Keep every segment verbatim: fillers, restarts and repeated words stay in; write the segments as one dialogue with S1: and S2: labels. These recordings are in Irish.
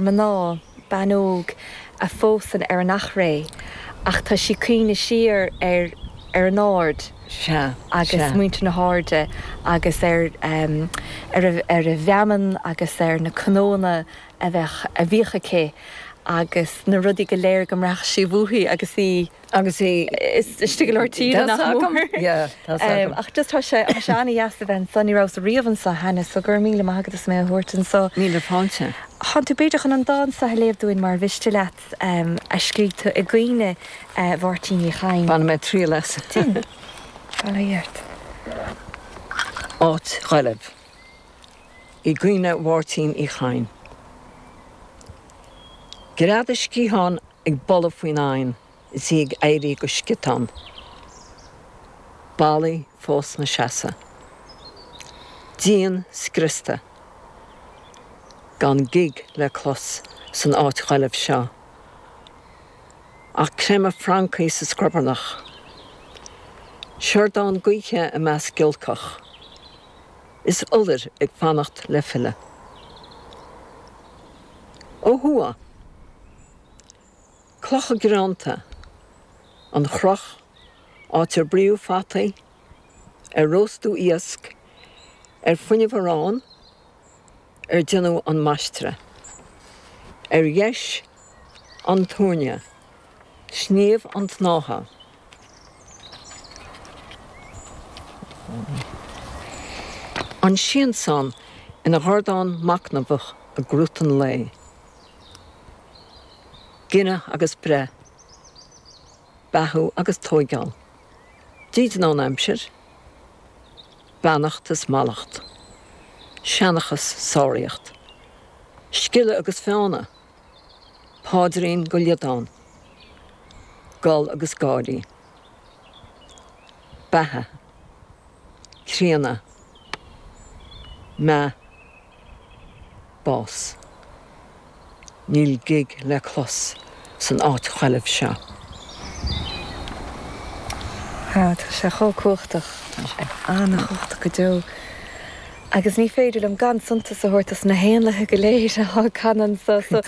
S1: mná, bean óg a phósann ar an Achréidh ach tá sí ag cuimhneamh siar ar ar an Aird
S2: Sea,
S1: agus
S2: sea.
S1: muintir na hAirde agus ar ar a ar a bhfeamainn agus ar na cnónna a bheadh a bhíodh aici agus na rudaí go léir go mbraithfeadh sí uaithi agus í
S2: Agus í
S1: istigh i lár tíre nach mór.
S2: Yeah, tá agam.
S1: Ach just tá sé tá sé an-dheas a bheith anso, ní rabhas riamh anso cheana, so go raibh míle maith agat as mé a thabhairt anso.
S2: Míle fáilte.
S1: Tá tú b'fhéidir chun an dán seo a léamh dúinn mar mhiste leat a scríobh tú i gcuimhne Mháirtín Uí Chadhain.
S2: Bainfidh mé triail as.
S1: Déan. Bail ó Dhia ort.
S2: Áit Ghaillimh. I gcuimhne Mháirtín Uí Chadhain. Greadadh sciathán ag boladh faoin oigheann is í ag éirí go sciotán. Ballaí fós 'na seasamh. Díon scriosta. Gan gig le clos san áit ghaillimh seo. Ach creimeadh francaigh sa scrobarnach. Siordán gaoithe i measc giolcach. Is iolair ag fanacht le filleadh. Ó thuaidh. Clocha greanta. An chroch, áit ar bruíodh fataí, ar róstadh iasc, ar fuineadh arán, ar déanadh an maistreadh. Ar dheis, an túirne, sníomh an tsnátha. An siansán ina dhordán machnamhach i gcrút an lae. Gineadh agus breith. Beathú agus tóigeáil. Dídean ón aimsir. Beannacht is mallacht. Seanchas, sáraíocht. Sciolladh agus feánadh. Paidrín go liodán. Gol agus gáirí. Beatha. Críonadh. Meath. Bás. Níl gig le clos san áit ghaillimh seo.
S1: Tá sé chomh cumhachtach.
S2: Tá sé.
S1: An-chumhachtach go deo. Agus ní féidir liom gan suntas a thabhairt dos na héanlaithe go léir atá ag canadh anso. So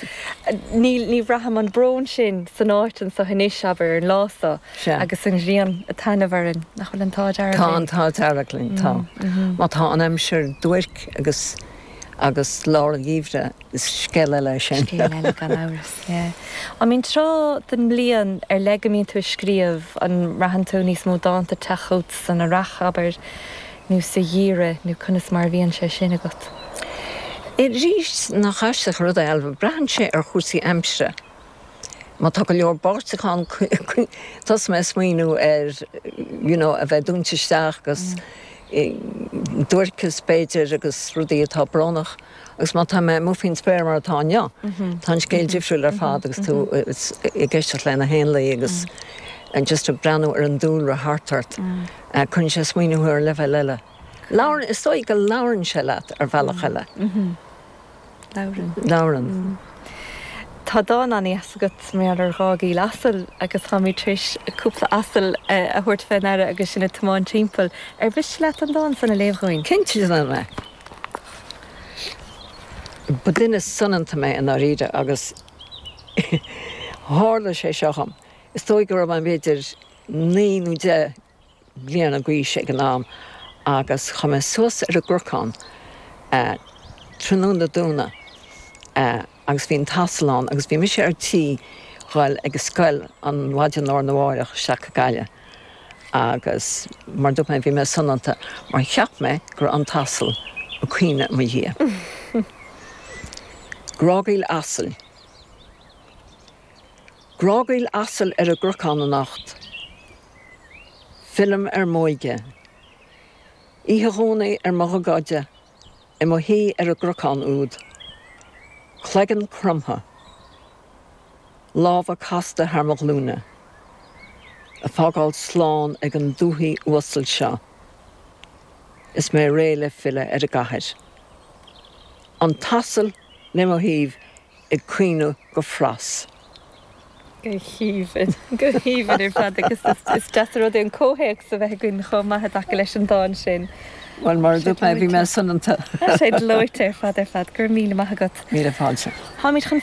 S1: ní ní bhraithim an brón sin san áit anso anois, abair, ar an lá so.
S2: Sea.
S1: Agus an ghrian ag taitneamh orainn. Nach bhfuil an t-ádh dearg
S2: Tá
S1: linn?
S2: an t-ádh dearg linn, tá. Má tá an aimsir duairc agus agus lár an gheimhridh, is scéal eile é sin.
S1: Scéal eile gan amhras, yeah. An mbíonn tráth den mbliain ar leith go mbíonn tú ag scríobh, an mbraitheann tú níos mó dánta ag teacht chugat san earrach, abair, nó sa gheimhreadh, nó conas mar a bhíonn sé sin agat?
S2: Arís, nach aisteach an rud é, Ailbhe, braitheann sé ar chúrsaí aimsire. Má tá go leor báisteach ann, tosaíonn mé ag smaoineamh ar you know a bheith dúnta isteach agus duairceas b'fhéidir agus rudaí atá brónach agus má tá mé amuigh faoin spéir mar atá inniu, tá an scéal difriúil ar fad agus tú ag éisteacht le na héanlaith agus just ag breathnú ar an dúlra thart ort, cuireann sé ag smaoineamh thú ar leibhéal eile. Labhrann, is dóigh go labhrann sé leat ar bhealach eile.
S1: Labhrann.
S2: Labhrann.
S1: Tá dán an-dheas agat mar gheall ar ghágaíl asail agus táimid tar éis cúpla asal a thabhairt fé ndeara agus sinn ag tiomáint timpeall. Ar mhiste leat an dán san a léamh dhúinn?
S2: Cinnte déanfaidh mé. Ba duine soineanta mé i ndáiríre agus tharla sé seo dhom. Is dóigh go raibh mé b'fhéidir naoi nó deich bliana d'aois ag an am agus chuaigh mé suas ar an gcnocán tráthnóna Domhnaigh agus bhí an t-asal ann agus bhí mise ar tí dhul ag an scoil an mhaidin lá arna mháireach isteach go Gaillimh agus mar dúirt mé bhí mé soineanta mar cheap mé go raibh an t-asal ag caoineadh i mo dhiaidh. Grágaíl asail. Grágaíl asail ar an gcnocán anocht. Fillim ar m'óige. Oíche Dhomhnaigh ar mo ghogáide i mo shuí ar an gcnocán úd. Cloigeann cromtha. Lámha casta thar mo ghlúine. Ag fágáil slán ag an dúthaigh uasal seo. Is mé réidh le filleadh ar an gcathair. An t-asal le mo thaobh ag caoineadh go fras.
S1: Go haoibhinn, go haoibhinn ar fad agus is deas an rud é an comhthéacs a bheith againn chomh maith i dtaca leis an dán sin.
S2: Well mar dúirt mé bhí mé soineanta.
S1: Sé dlóite ar fad ar fad gur míle maith agat.
S2: Míle fáilte.
S1: Táimid chun